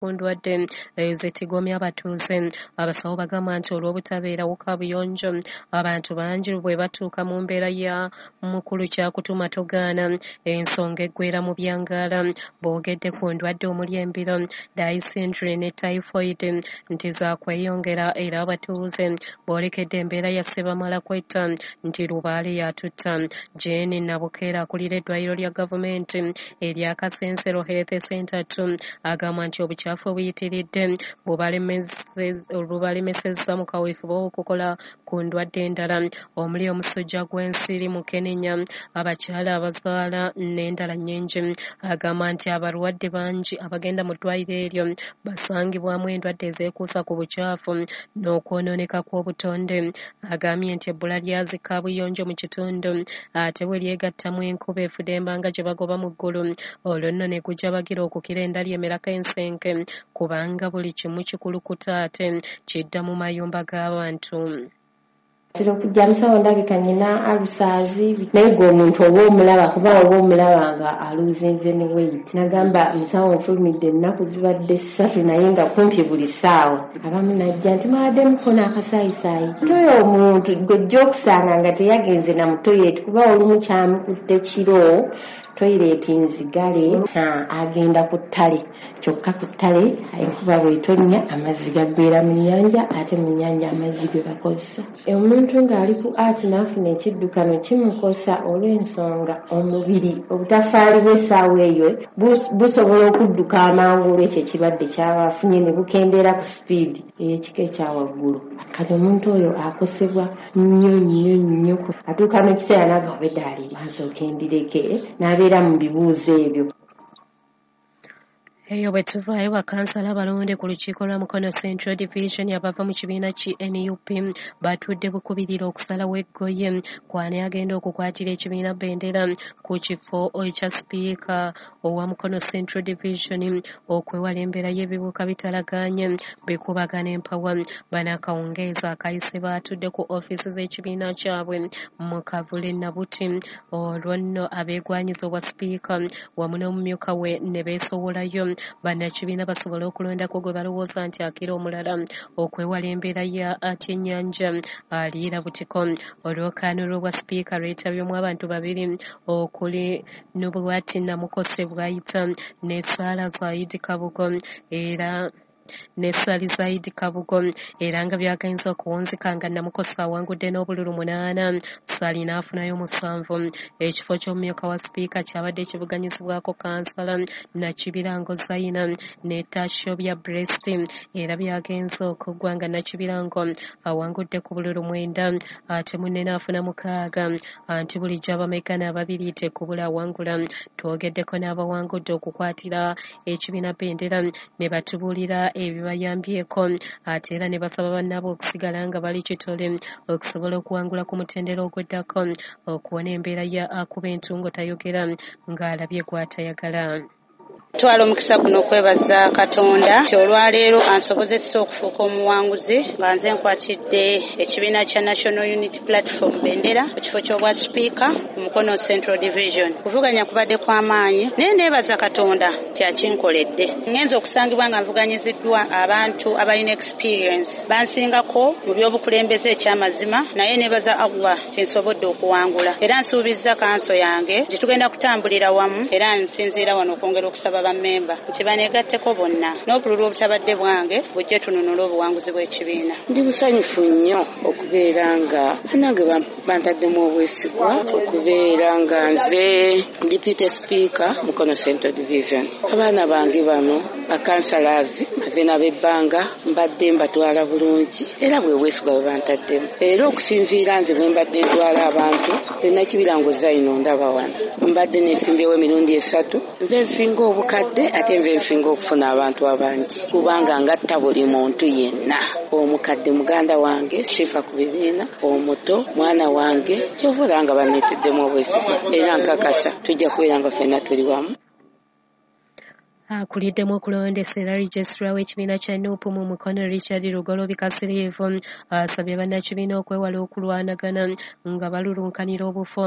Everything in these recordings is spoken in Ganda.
Ku ndwadde ezitigomya abatuuze, abasawo bagamba nti olw'obutabeerawo kaabuyonjo, abantu bangi bwe batuuka mu mbeera ya mukulu kyakutuma togaana, ensonga eggwera mu byangaala. Boogedde ku ndwadde omuli embiro, dysentery ne typhoid nti zaakweyongera era abatuuze boolekedde embeera ya ssebamala kwetta nti lubaale y'atutta. Jane Nabukeera akulira eddwaliro lya gavumenti erya Kasensero Health Center 2 agamba nti obukyafu obuyitiridde bubalemesezza mu kaweefube w'okukola ku ndwadde endala omuli omusujja gw'ensiri, mukenenya, abakyala abazaala n'endala nnyingi. Agamba nti abalwadde bangi abagenda mu ddwaliro eryo basangibwamu endwadde ezeekuusa ku bukyafu n'okwonooneka kw'obutonde. Agambye nti ebbula lya zi kaabuyonjo mu kitundu ate bwe lyegattamu enkuba efudemba nga gye bagoba mu ggulu, olwo nno ne gujabagira okukira endali emerako ensenke kubanga buli kimu kikulukuta ate kidda mu mayumba g'abantu. Ntera okujja musawo ndabika nnina ulcers, naye gwe omuntu oba omulaba kuba oba omulaba nga aluuzinze ne weight. Nagamba musawo nfulumidde ennaku zibadde 3 naye nga kumpi buli ssaawa abamu najja nti mwabadde mukona akasaayisaayi. Oyo omuntu gw'ojja okusanga nga teyagenze na mu toilet kuba olumu kyamukutte kiro, toilet nzigale, agenda ku ttale, kyokka ku ttale enkuba bw'etonnya amazzi gaggweera mu nnyanja, ate mu nnyanja amazzi ge bakozesa. Omuntu ng'ali ku art n'afuna ekiddukano kimukosa olw'ensonga omubiri obutafaali bw'essaawa eyo busobola okudduka amangu olw'ekyo ekirwadde ky'aba afunye ne bukendeera ku sipiidi ey'ekika ekya waggulu. Kati omuntu oyo akosebwa nnyo nnyo nnyo, atuuka n'ekiseera n'agamba obwedda ali nsooke ndireke n'abeera mu bibuuzo ebyo. Eyo bwe tuvaayo, bakansala abalonde ku lukiiko lwa Mukono Central Division abava mu kibiina ki NUP batudde bukubirira okusalawo eggoye kw'ani agenda okukwatira ekibiina bendera ku kifo ekya sipiika owa Mukono Central Division okwewala embeera y'ebibuuka bitalagaanye bikubagana empawa. Bano akawungeezi akayise baatudde ku ofiisi z'ekibiina kyabwe mu Kavule Nabuti, olwo nno abeegwanyiza obwa sipiika wamu n'omumyuka we ne beesowolayo bannakibiina basobole okulondako gwe balowooza nti akira omulala okwewala embeera ya atyennyanja aliira butiko. Olwokaano lw'obwa sipiika lwetabyemu abantu babiri okuli Nubwati Namukose Bwayita ne Saala Zaidi Kabugo era ne Sali Zaidi Kabugo, era nga byagenze okuwunzika nga Namukose awangudde n'obululu 8, Sali n'afunayo 7. Ekifo ky'omumyuka wa sipiika kyabadde kivuganyizibwako kansala Nakibirango Zaina ne Tashobya Brest, era byagenze okuggwa nga Nakibirango awangudde ku bululu 9 ate munne n'afuna 6. Anti bulijjo abamegana ababiri tekubula awangula. Twogeddeko n'abawangudde okukwatira ekibiina bendera ne batubuulira ebibayambyeko ate era ne basaba bannaabwe okusigala nga bali kitole okusobola okuwangula ku mutendera ogweddako okuwona embeera ya akuba entungo tayogera ng'alabye gw'atayagala. Twala omukisa guno okwebaza Katonda nti olwaleero ansobozesa okufuuka omuwanguzi nga nze nkwatidde ekibiina kya National Unity Platform bendera ku kifo ky'obwa sipiika ku Mukono Central Division. Kuvuganya kubadde kw'amaanyi naye neebaza Katonda nti akinkoledde. Ngenze okusangibwa nga nvuganyiziddwa abantu abalina experience bansingako mu by'obukulembeze ekyamazima, naye neebaza Allah nti nsobodde okuwangula era nsuubizza kanso yange nti tugenda kutambulira wamu, era nsinziira wano okwongera okusaba bammemba nti baneegatteko bonna n'obululu obutabadde bwange bujje tununule obuwanguzi bw'ekibiina. Ndi musanyufu nnyo okubeera nga bannange bantaddemu obwesigwa okubeera nga nze Deputy Speaker Mukono Central Division. Abaana bange bano bakansalazi maze n'abebbanga mbadde mbatwala bulungi era bwe bwesigwa bwe bantaddemu. Era okusinziira nze bwe mbadde ntwala abantu, nze Nakibirango Zaina ndaba wano mbadde neesimbyewo emirundi 3, nze nsinga obukadde ate nze nsinga okufuna abantu abangi kubanga ngatta buli muntu yenna. Omukadde muganda wange sifa ku bibiina, omuto mwana wange, kyova olaba nga banneeteddemu obwesigwa era nkakasa tujja kubeera nga ffenna tuli wamu. Akuliddemu okulondesa era registrar w'ekibiina kya NUP mu Mukono Richard Lugoloobi Kasiriivu asabye bannakibiina okwewala okulwanagana nga balulunkanira obufo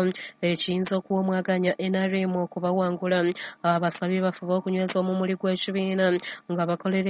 ekiyinza okuwa omwaganya NRM okubawangula. Abasabye bafube okunyweza omumuli gw'ekibiina nga bakolera